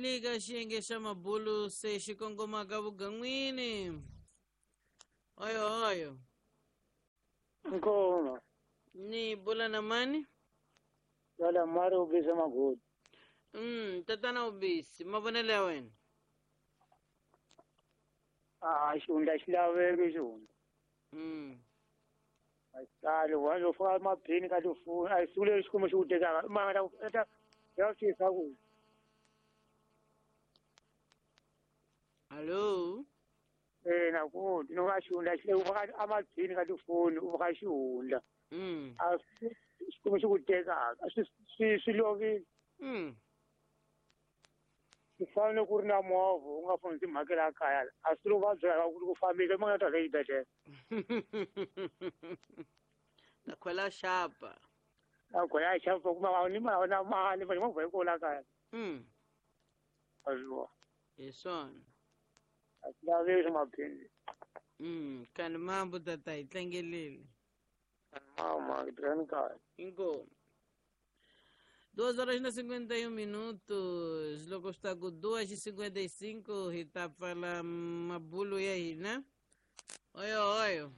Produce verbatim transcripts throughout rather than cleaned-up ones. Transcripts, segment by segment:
Hi le ka xiyenge xa mabulu se xi kongomaka vugan'wini. Oyo oyo. Nkoma. Ni bula na mani? Wala mari ubisa magodi. Mm, tatana ubisi, mavonelo ya wena. Ah, xihundla xi laveki xihundla. Mm. Asali wa lo fa maphini ka tifoni a siku leri xikwembu xi ku tekaka mara ta ya fisa ku. Allo. Eh na ku no ka xihundla xi le u faka amaphini ka tifoni u faka xihundla. Mm. A xikwembu xi ku tekaka swi swi swi lovile. Mm. Swi fanele ku ri na movha u nga foni timhakela kaya a swi lo va byela ku ku fambile ma nga ta le xibedhlele. Na khwela xapa. A khwela xapa kuma ni ma na mali va movha yi kona kaya. Mm. Azwa. Hi swona. A swi laveki maphini. Mm, kani mambo tata hi tlangelile. Mama, tirhani kahle. Inkomu. Duas horas e cinquenta e um minutos, loko swi ta ku duas e cinquenta e cinco hi ta pfala mabulu ya hina. Oyo oyo.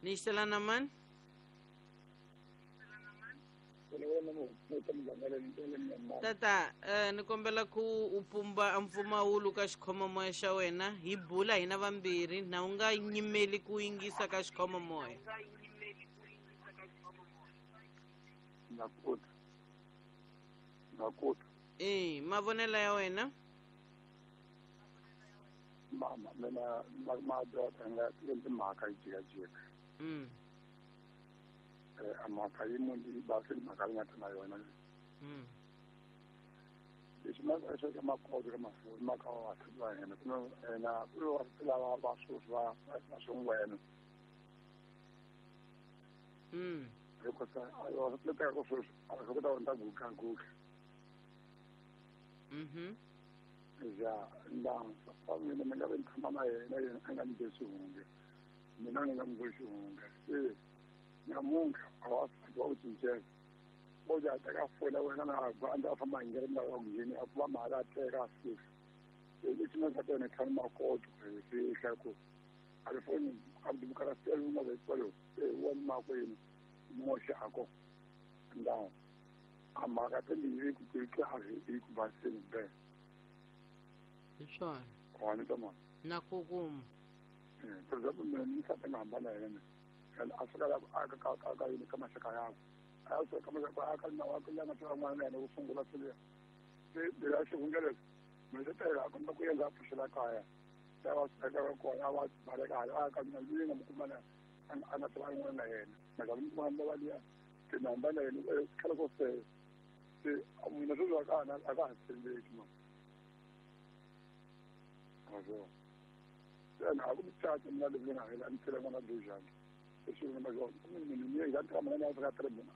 Ni xitela na mani? Tata, eh, ni kombela ku u pumba mpfumawulo ka xikhomamoya xa wena hi bula hina vambirhi na u nga nyimeli ku yingisa ka xikhomamoya. Nakota. Nakota. Eh, mavonelo ya wena? Mama, mina madoda nga endli mhaka yi jikajika. Mm. Eh, a mhaka yi munhu yi basi mhaka yi nga ta na yona. Mm. Leswi ma swi ka makoto ka mafoni ma ka wa va hina ku na ku va lava va sweswi va va swingwena. Mm. Hikuva a yo swi teka ku sweswi a swi kota ku ta guga guga. Mhm. Ja, nda fa mina mi nga vi ni tshama na yena yena a nga ni be xihundla. Mina ni nga n'wi be xihundla. Se namuntlha a wa wa ku cincela. Bo ja teka foni ya wena na a ndzi a famba hi ndlela ya ku ngheni a kuma mali a teka a fika. Se lexi nga ta tona tlhanu makoto hi fihla ku a ri foni a bukala sele u nga ve kwalo se wa makwenu moxako nda a mhaka timbirhi ku ku kahle hi ku baseni be. Hi swona. Wa ni ta mani. Na ku kuma. Eh, for example mina ni nsati nga hambana yena. A fika la a ka ka ka yini ka maxaka yakwe. A fika ka maxaka a ka na wa ku la nga tiva n'wana yena ku sungula swilo. Se bila xihundla leswi mina se tela a komba ku endla a pfuxela kaya. Se va swi teka kona va baleka hala a ka mina ndzi nga mu kuma na a nga tiva n'wana na yena. Maka mi kuma va liya se na hambana yena khale ko se se mina sweswi a ka ha a ka ha tshembeki ma. Azwa. Se na a ku mucato mina leswi nga hela ni tlhela n'wana dojani. Leswi nga mazona mina ni ya ka mana na ka tre mina.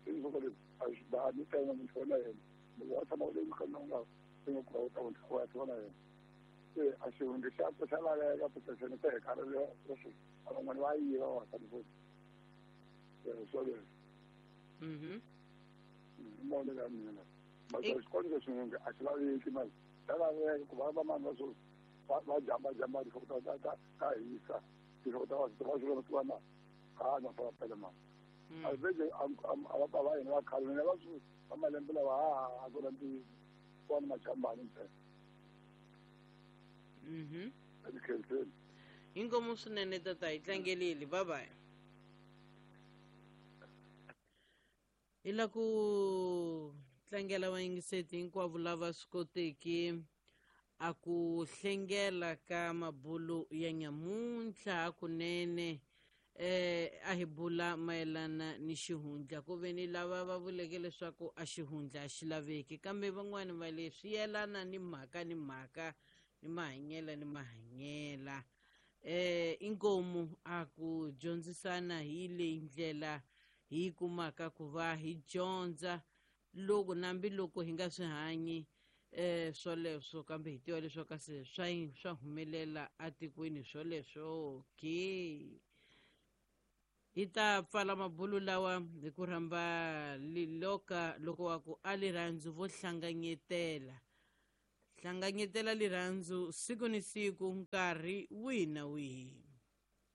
Se ni soko leswi a swi ba ni tena munhu na yena. Loko wa tshama u le ka nga se nga ku ta u wa tshama na yena. Se a xihundla xa ku xa laveka ku se ni teka ri leswi a van'wana va yiva va ta ni swo leswi. Mhm. Mona ya mina. Mara xikolo lexi a xi laveki mali. Xa laveka ku va va mani va swo va jamba jamba tinhloko ta ta ta hisa tinhloko ta va va swi va na a na fa pele ma. A vele a va va yena va khale na va swi va malembe lawa a a ku na ntiyiso kona machambani ntsena. Mhm. Ekhenseni. Inkomu swinene tata hi tlangelile bye bye. Hi la ku tlangela vayingiseti hinkwavo lava swi koteki a ku hlengela ka mabulu ya nyamuntlha hakunene eh a hi bula mayelana ni xihundla ku ve ni lava va vuleke leswaku a xihundla a xi laveki kambe van'wani va leswi yelana ni mhaka ni mhaka ni mahanyela ni mahanyela eh inkomu a ku dyondzisana hi leyi ndlela hi kumaka ku va hi dyondza loko nambi loko hi nga swi hanyi eh swoleswo kambe hi tiva leswaku se swa swa humelela atikweni swoleswo ke. Hi ta pfala mabulu lawa hi ku rhamba liloka loko wa ku a lirhandzu vo hlanganyetela hlanganyetela lirhandzu siku ni siku nkarhi wihi na wihi.